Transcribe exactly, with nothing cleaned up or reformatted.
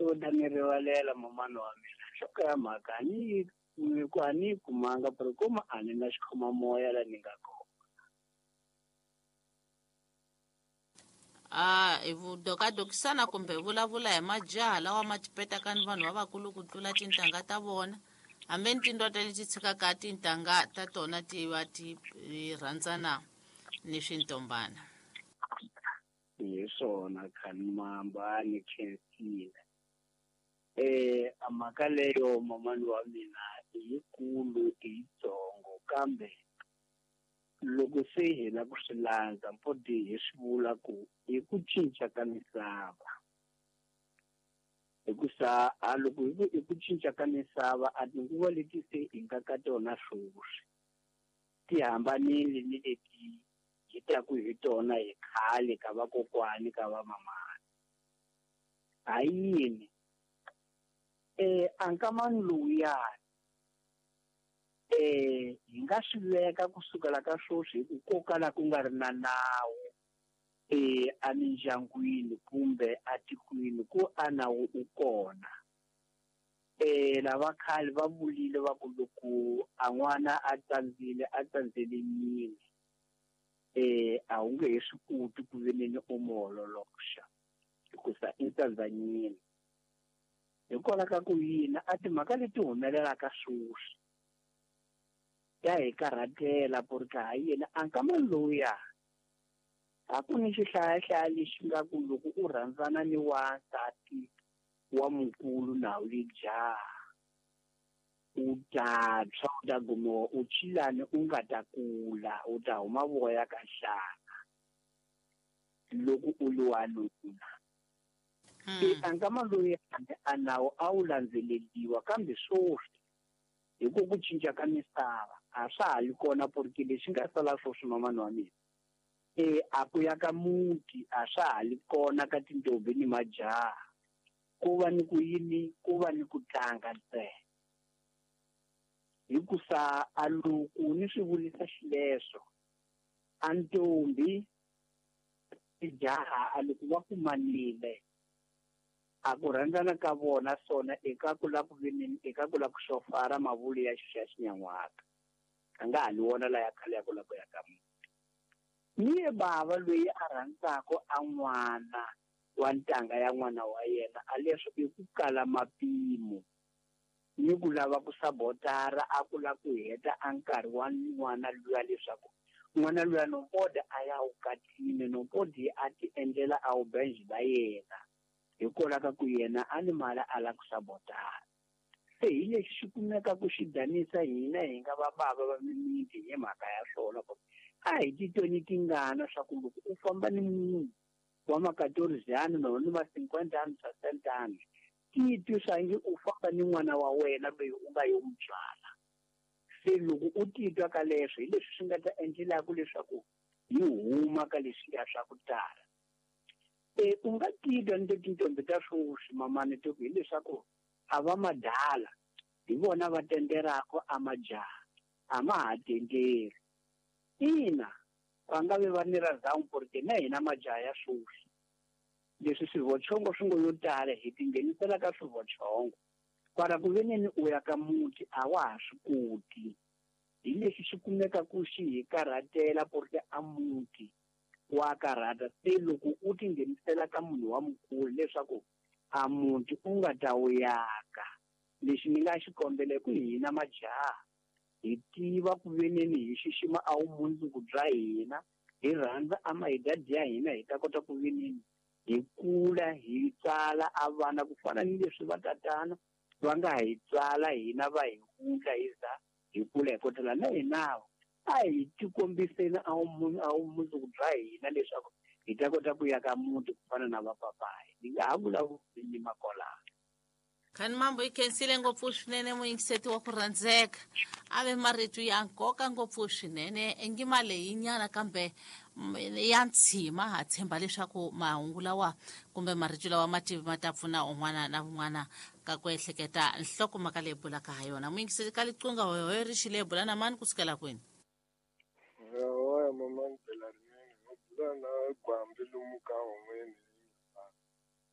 U ta ni rivalela mamani wa mina. Nhloko ya mhaka a ni yi ku a ni yi kumanga pero kuma a ni na xikhomamoya la ni nga kona. A hi dokadokisana kumbe hi vulavula hi majaha lawa ma tipetaka ni vanhu lavakulu ku tlula tintangha ta vona hambi ni tindota leti tshikaka tintangha ta tona ti va ti rhandzana ni swintombana. Hi swona khani mamba ni khensile. Eh a mhaka leyo mamani wa mina i yikulu i yitsongo kambe loko se hi la ku swi landza mpodi hi swi vula ku i ku cinca ka misava. Hikusa a loko hi ku i ku cinca ka misava a tinguva leti se hi nga ka tona sweswi ti hambanile ni leti hi taku hi tona hi khale ka vakokwani ka vamamani. Ha yini? Eh a nkamani lowuyani eh hi nga swi veka kusukela ka sweswi hi ku ko kala ku nga ri na nawu eh emindyangwini kumbe atikweni ku a nawu u kona. Eh lava khale va vulile va ku loko a n'wana a tsandzile a tsandzele yini eh a wu nge he swi koti ku veneni u mu ololoxa hikusa i tsandzanyini. Hikwalaho ka ku yini a timhaka leti humelelaka sweswi ya hi karhatela porque ha yini a nkamani lowuya a ku ni xihlayahlaya lexi nga ku loko u rhandzana ni wansati wa mukulu na wu li jaha u ta tshwa u ta gumiwa u chilani u nga ta kula u ta huma voya ka nhlana loko u li wanuna. Se a nkama loyi a nawu a wu landzeleriwa kambe sweswi hi ku ku cinca ka misava a swa ha li kona porque lexi nga sala sweswi mamani wa mina e a ku ya ka muti a swa ha li kona ka tintombi ni majaha ku va ni ku yini ku va ni ku tlanga ntsena. Hikusa a loko ni swi vulisa xileswo a ntombi jaha a loko va kumanile a ku rhandzana ka vona swona eka ku la ku veneni eka ku la ku xofara mavulu ya xa xinyan'waka a nga ha li wona laya khale ya ku la ku ya ka muti. Ni ye bava loyi a rhandzaka a n'wana wa ntanga ya n'wana wa yena a leswo i ku kala mapimo ni ku lava ku sabotara a ku la ku heta a nkarhi wa n'wana luya leswaku n'wana luya nompodi a ya wukatini nompodi a ti endlela a wu benji la yena hikwalaho ka ku yena a ni mali a la ku sabotara. Se hi lexi xi kumeka ku xi danisa hina hi nga va bava va mimiti hi mhaka ya swona ku a hi titweni tingana swa ku loko u famba ni munhu wa makatorizani no ni ma cinquanta anos sessenta anos titwi swangi u famba ni n'wana wa wena loyi u nga yo n'wi tswala. Se loko u titwa ka leswo hi leswi swi nga ta endlelaka leswaku hi huma ka leswiya swa ku tala. E u nga titwa ni tintombi ta sweswi mamani to ku hileswaku a va madala hi vona va tenderaka a majaha a ma ha tenderi. Ina va nga vi va ni ra zamu porque na hina majaha ya sweswi leswi swivochongo swi ngo yo tala hi tinghenisela ka swivochongo kwala ku veneni u ya ka muti a wa ha swi koti. Hi lexi xi kumeka ku xi hi karhatela porque a muti wa karhata. Se loko u tinghenisela ka munhu wa mukulu leswaku a muti u nga ta wu yaka lexi ni nga xi kombela ku hina majaha hi tiva ku veneni hi xixima a vumundzuku bya hina hi rhandza a mahidadi ya hina hi ta kota ku veneni hi kula hi tsala a vana ku fana ni leswi va tatana va nga hi tsala hina va hi wundla hi za hi kula hi kotela na hina a hi tikombiseni a vumundzuku bya hina leswaku hi ta kota ku ya ka muti ku fana na vapapayi. Ni nga ha vulavuli ni makolana. Khani mambo yi khensile ngopfu swinene muyingiseti wa ku rhandzeka a ve marito ya nkoka ngopfu swinene engima leyi nyana kambe ya ntshima ha tshemba leswaku mahungu lawa kumbe marito lawa ma tivi ma ta pfuna un'wana na un'wana ka ku ehleketa nhlokomhaka leyi bulaka ha yona. Muyingiseti ka liqunga hoyohoyo ri xile bula na mani kusukela kwini? Hawa mamani bela rinene no bula na gwambi lomu ka hon'weni